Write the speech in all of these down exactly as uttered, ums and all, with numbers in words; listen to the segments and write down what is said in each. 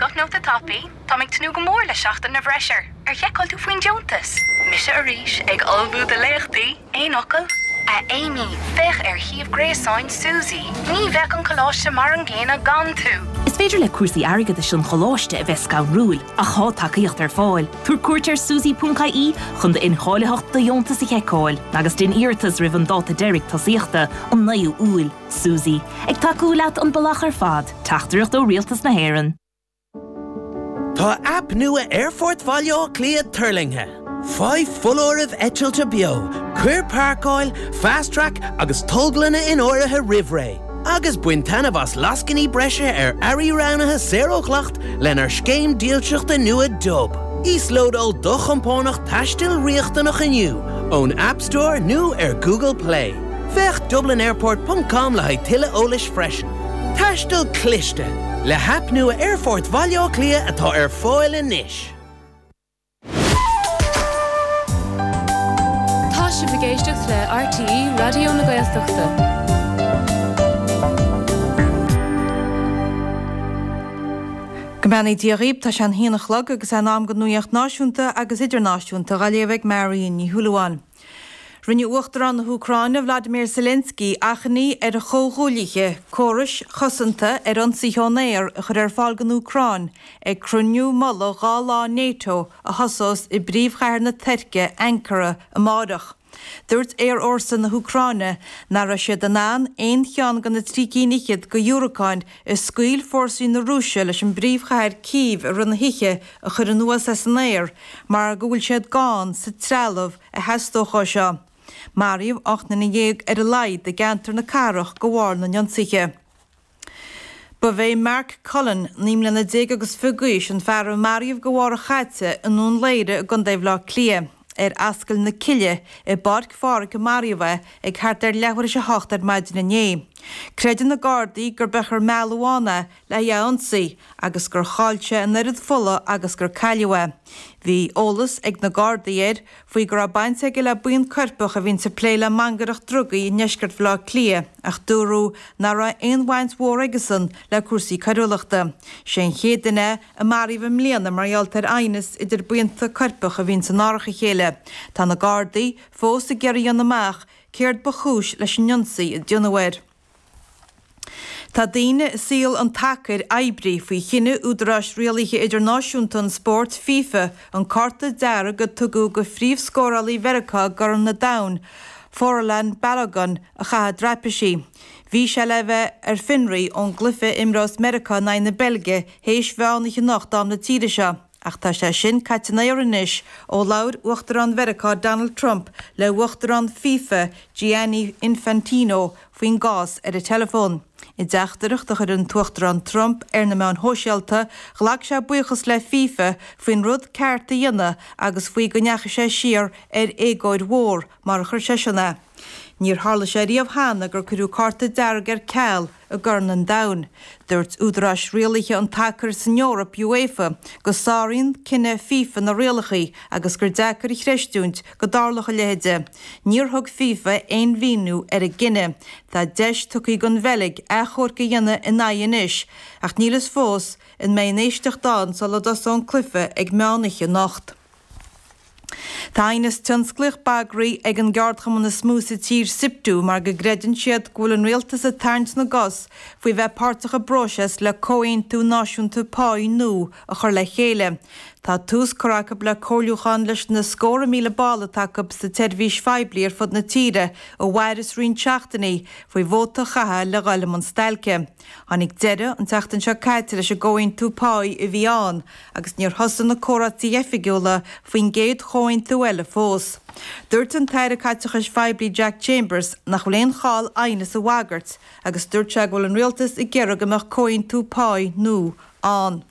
Guth nóta tapaí, Tá ag tnúth go mór le seachtain na bhfreisear, ar sheiceáil tú faoin deontas. Mise arís ag ullmhú do léachtaí, aon fhocal? A Amy, féach ar shuíomh gréasáin Suzy. Ní bheadh an coláiste mar an gcéanna gan tú. Is féidir le cúrsaí airgeadais an choláiste a bheith scanrúil ach tá tacaíocht ar fáil. Tabhair cuairt ar suzy.ie chun d'incháilitheacht do dheontas a sheiceáil, agus déan iarratas roimh an dáta deiridh tosaíochta an naoú Iúil, Suzy, ag tacú leat an bealach ar fad, teachtaireacht ó Rialtas na hÉireann. Tá aip nua Aerfort Bhaile Átha Cliath tuirlingthe. Faigh foláirimh eitilte beo, cuir páirceáil, fast track agus tolglanna in áirithe roimh ré. Agus bain taitneamh as lascainí breise ar earraí roghnaithe saor ó dhleacht lenár scéim dílseachta nua Dub. Íoslódáil do chompánach taistil riachtanach inniu ón App Store nó ar Google Play. Féach DublinAirport.com le haghaidh tuilleadh eolais freisin. Taisteal cliste le haip nua Aerfort Bhaile Átha Cliath atá ar fáil anois. Tá sibh ag éisteacht le RTÉ Raidió na Gaeltachta. Go mbeannaí Dia dhaoibh tá sé an haon a chlog agus in am don nuacht náisiúnta agus idirnáisiúnta á léamh ag Marion Ní Shúilleabháin. Rinne Uachtarán na hÚcráine Vladimir Zelensky achainí ar a chomhghuaillithe córais chosanta ar ionsaithe ón aer a chur ar fáil don Úcráin ag cruinniú mullaigh dhá lá NATO a thosós i bpríomhchathair na Tuirce Ankara amárach. Dúirt aerfhórsa na hÚcráine nach raibh siad in ann aon cheann de na trí cinn fhichead de dhiúracáin a scaoil fórsaí na Rúise leis an bpríomhchathair Cív i rith na hoíche a chur anuas as an aer mar go bhfuil siad gann sa trealamh a theastódh dó seo. Maraíodh ocht nduine dhéag ar a laghad i gceantar na cathrach de bharr na n-ionsaithe. Ba é Mark Cullen, naoi mbliana déag agus fiche d'aois, an fear a maraíodh de bharr a chaite i nDún Laoghaire i gContae Bhaile Átha Cliath. Ar Ascaill na Cille i bPáirc Phádraig a maraíodh é ag thart ar leathuair tar éis a hocht ar maidin inné. Creideann na Gardaí gur b'é gur mealladh ann é le é a ionsaí agus gur chaill sé an oiread fola agus gur cailleadh é. Bhí eolas ag na Gardaí air faoi go raibh baint aige le buíon coirpeach a bhíonn ag plé le mangaireacht drugaí i ndeisceart Bhaile Átha Cliath ach dúradh nach raibh aon bhaint mhór aigesan le cúrsaí coiriúlachta. Sé an chéad duine a maraíodh i mbliana mar gheall ar aighneas idir buíonta coirpeach a bhíonn in árach a chéile. Tá na Gardaí fós ag iarraidh a dhéanamh amach céard ba chúis leis an ionsaí a déanadh air. Tá daoine i saol an tsacair oibrithe faoi chinneadh údaráis rialaithe idirnáisiúnta an spóirt FIFA an cárta dearg a tugadh do phríomhscórálaí Mheiriceá i gCorn an Domhain, Folarin Balogun a chaitheamh i dtraipisí. Bhí sé le bheith ar fionraí ón gcluiche a imreos Meiriceá in aghaidh na Beilge théis mheán oíche anocht am na tíre seo. Ach tá sé sin caite in aer anois ó labhair Uachtarán Mheiriceá Donald Trump le Uachtarán FIFA Gianni Infantino faoin gcás ar an teileafón. I dteachtaireacht a chuir an tUachtarán Trump ar na meáin shóisialta, ghlac sé buíochas le FIFA faoin rud ceart a dhéanamh agus faoi go ndeachaigh sé siar ar éagóir mhór mar a chuir sé sin é. Níor tharla sé riamh cheana gur cuireadh cárta dearg ar ceal i gCorn an Domhain. Dúirt údaráis rialaithe an tsacair san Eoraip UEFA go sáraíonn cinneadh FIFA na rialacha agus gur deacair a chreistiúint go dtarlódh a leithéid. Níor thug FIFA aon mhíniú ar a gcinneadh. Tá deis tugtha don Bheilg achomharc a dhéanamh ina aghaidh anois, ach níl a fhios fós an mbeidh an éisteacht ann sula dtosóidh an cluiche ag meán oíche anocht. Tá aighneas tionsclaíoch bagraithe ag an gceardchumann is mó sa tír SIPTU mar go gcreideann siad go bhfuil an rialtas ag tarraingt na gcos faoi bheith páirteach i bpróiseas le comhaontú náisiúnta páí nua a chur le chéile. Tá tús curtha acu le comhairliúchán leis na scórtha míle ball atá acu sa tseirbhís phoiblí ar fud na tíre a mhairfeas roinnt seachtainí faoi vóta a chaitheamh le dhul i mbun stailce. Tháinig deireadh an tseachtain seo caite leis an gcomhaontú páí a bhí ann agus níor thosaigh na comhráití oifigiúla faoin gcéad chomhaontú eile fós. Dúirt an tAire Caiteachais Phoiblí Jack Chambers nach bhfuil aon chall aighneas a bhagairt agus dúirt sé go bhfuil an rialtas ag iarraidh go mbeadh comhaontú páí nua ann.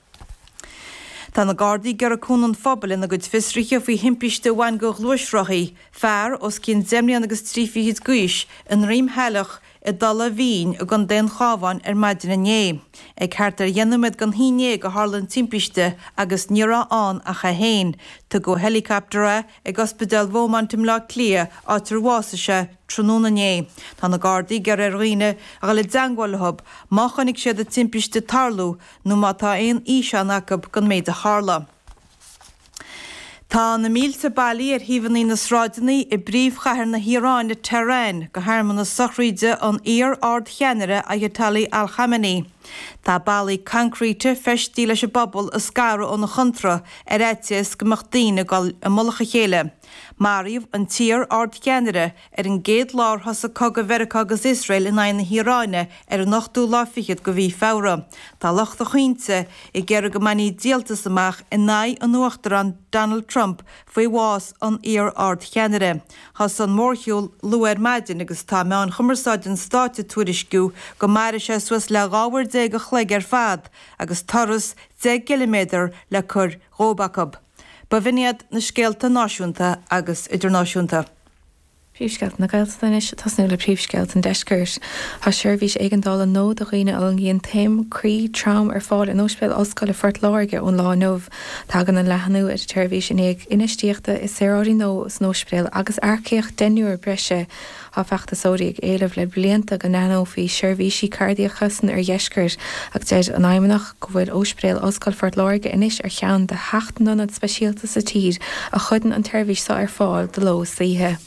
Tá na Gardaí ag iarraidh cúnamh an phobail ina gcuid fiosruithe faoi thimpiste a bhain go ghluaisrothaí, fear os cionn deich mbliana agus trí fichid d'aois i nDroim Shaileach i dTulach Mhín i gContae an Chabháin ar maidin inné. Ag thart ar dheich nóiméad don haon déag a tharla an timpiste agus ní raibh ann ach é féin. Tugadh helicopter é ag Ospidéal Beaumont i mBleá Cliath, áit ar bhásaigh sé tráthnóna inné. Tá na Gardaí ag iarraidh ar dhaoine a dhul i dteangmháil leo má chonaic siad an timpiste ag tarlú nó má tá aon fhíseán acu den méid a tharla. Tá na mílte bailithe ar thaobhanna na sráideanna i bpríomhchathair na hIaráine, Tehran, do shearmanas sochraide an iar-ardcheannaire Ayatollah Ali Khamenei. Tá ballaí coincréite feistithe leis an bpobal a scaradh óna chontráth ar fhaitíos go mbeadh daoine ag dul i mullach a chéile. Maraíodh an t-iar-ardcheannaire ar an gcéad lá ar thosaigh cogadh Mheiriceá agus Iosrael in aghaidh na hIaráine ar an ochtú lá fichead de mhí Feabhra. Tá lucht a chaointe ag iarraidh go mbainfí díoltas amach in aghaidh an Uachtaráin Donald Trump faoi bhás an iar-ardcheannaire. Thosaigh an mórshiúl luath ar maidin agus tá meáin chumarsáide an stáit ag tuairisciú go mairfidh sé suas le dhá uair déag a chloig ar fad agus turas deich gciliméadar le cur dhóibh acu. B'in iad na scéalta náisiúnta agus idirnáisiúnta. Príomhscéalta na Gaeltachta anois, tosnú le príomhscéalta an deiscirt. Tá seirbhís éigeandála nua do dhaoine a fhulaingíonn taom croí trom ar fáil in Ospidéal Ollscoile Phort Láirge ón lá inniu. Tagann an leathnú ar an tseirbhís i ndiaidh infheistíochta i saoráidí nua san ospidéal agus earcaíocht deichniúr breise. Tá feachtasóirí ag éileamh le blianta go leathnófaí seirbhísí cairdiacha san oirdheisceart agus deir an Fheidhmeannacht go bhfuil Ospidéal Ollscoile Phort Láirge anois ar cheann de sheacht n-ionad speisialta sa tír a chuireann an tseirbhís seo ar fáil de ló is d'oíche.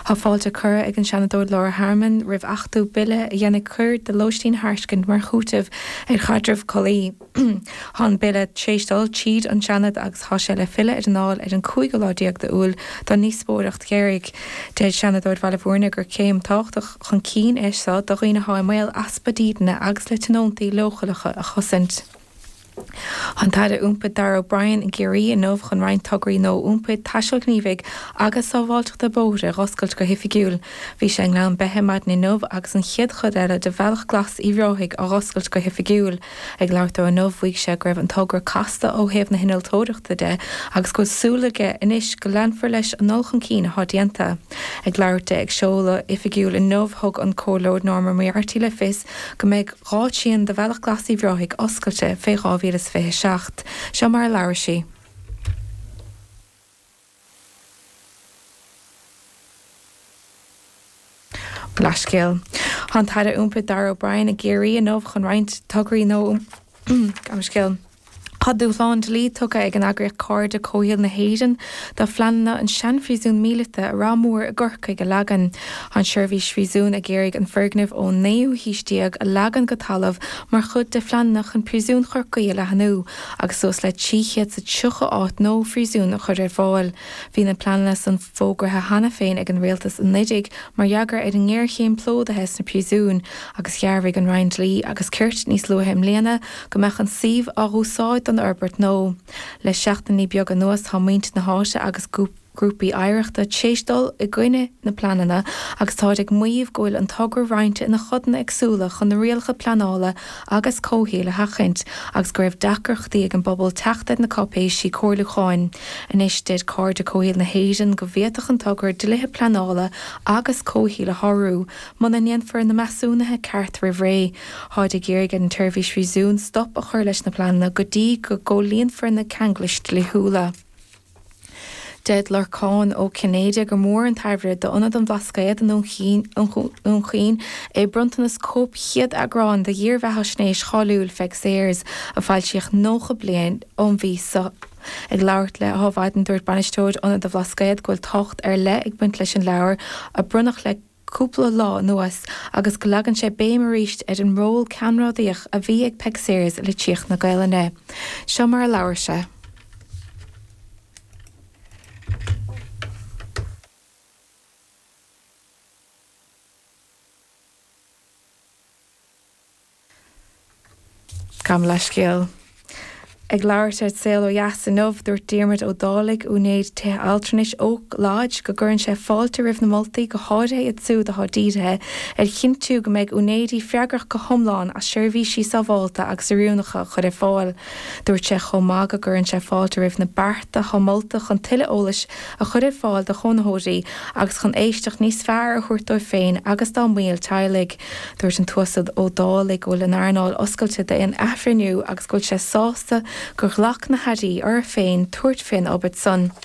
Tá fáilte curtha ag an Seanadóir Laura Harmon roimh achtú bille a dhéanfaidh coir de lóistín a thairiscint mar chúiteamh ar chaidreamh collaí. Tá an bille tar éis dul tríd an Seanad agus tá sé le filleadh ar an Dáil ar an cúigiú lá déag d'Iúil don ndíospóireacht dheiridh. Deir Seanadóir Bhaile Bhúirne gur céim tábhachtach chun cinn é seo do dhaoine atá i mbaol easpa dídine agus le tionóntaí leochaileacha a chosaint. An tAire Iompair Darragh O'Brien i gCiarraí inniu chun roinnt tograí nua iompair taistil ghníomhaigh agus sábháilteachta bóithre a dh'oscailt go hoifigiúil. Bhí sé i nGleann Beithe maidin inniu agus an chéad chuid eile de Bhealach Glas Uíbh Ráthaigh á dh'oscailt go hoifigiúil. Ag labhairt dó inniu mhaígh sé go raibh an togra casta ó thaobh na hinnealtóireachta de agus go bhfuil súil aige anois go leanfar leis an ndul chun cinn atá déanta. Ag labhairt di ag seoladh oifigiúil inniu thug an Comhairleoir Norma Moriarty le fios go mbeidh dhá thrian de Bhealach Glas Uíbh Ráthaigh oscailte fé dhá mhíle is fiche seacht. Seo mar a labhair sí. Leithscéal. Tá an tAire Iompair Darragh O'Brien i gCiarraí inniu chun roinnt tograí nua Gabh mo leithscéal. Tá dúshlán dlí tugtha ag an eagraíocht Cairde Comhshaoil na hÉireann do phleananna an seanphríosún míleata i Ráth Mór i gCorcaigh a leagan. Tá an tSeirbhís Phríosún ag iarraidh an foirgneamh ón naoú haois déag a leagan go talamh mar chuid de phleananna chun Príosún Chorcaí a leathnú agus suas le trí chéad is tríocha áit nua phríosúin a chur ar fáil. Bhí na pleananna san fógraithe cheana féin ag an rialtas anuraidh mar fhreagra ar an ngéarchéim plódaithe sna príosúin agus dhearbhaigh an Roinn Dlí agus Cirt níos luaithe i mbliana go mbeadh an suíomh á úsáid don fhorbairt nua. Le seachtainí beaga anuas tá muintir na háite agus grúpaí oidhreachta tar éis dul i gcoinne na bpleananna agus táid ag maíomh go bhfuil an togra roinnte ina chodanna éagsúla chun na rialacha pleanála agus comhshaoil a sheachaint agus go raibh deacrachtaí ag an bpobal teacht ar na cáipéisí comhairliúcháin. Anois deir Cairde Comhshaoil na hÉireann go bhféadfadh an togra dlíthe pleanála agus comhshaoil a shárú muna ndéanfar na measúnuithe ceart roimh ré. Táid ag iarraidh ar an tSeirbhís Phríosún stop a chur leis na pleananna go dtí go gcomhlíonfar na ceanglais dlíthiúla. Deir Lorcán Ó Cinnéide gur mór an tairbhe d'Ionad an Bhlascaoid i nDún Chaoin é bronntanas cóip chéad eagrán de dhírbheathaisnéis cháiliúil Pheig Sayers a foilsíodh nócha bliain ón mhí seo. Ag labhairt le hAdhmhaidin dúirt bainisteoir Ionad an Bhlascaoid go bhfuil tábhacht ar leith ag baint leis an leabhar a bronnadh le cúpla lá anuas agus go leagann sé béim arís ar an ról ceannródaíoch a bhí ag Peig Sayers i litríocht na Gaelainne. Seo mar a labhair sé. Gabh mo leithscéal. Ag labhairt ar Saol Ó Dheas inniu dúirt Diarmuid Ó Dálaigh úinéir tithe altranais Oak Lodge go gcuireann sé fáilte roimh na moltaí go háirithe iad siúd atá dírithe ar chinntiú go mbeidh úinéirí freagrach go hiomlán as seirbhísí sábháilte agus oiriúnacha a chur ar fáil. Dúirt sé chomh maith go gcuireann sé fáilte roimh na bearta atá molta chun tuilleadh eolais a chur ar fáil do chónaitheoirí agus chun éisteacht níos fearr a thabhairt dóibh féin agus dá mbaill teaghlaigh. Dúirt an tUasal Ó Dálaigh go bhfuil an earnáil oscailte d'aon athbhreithniú agus go bhfuil sé sásta gur ghlac na hairí orthu féin tabhairt faoin obair san.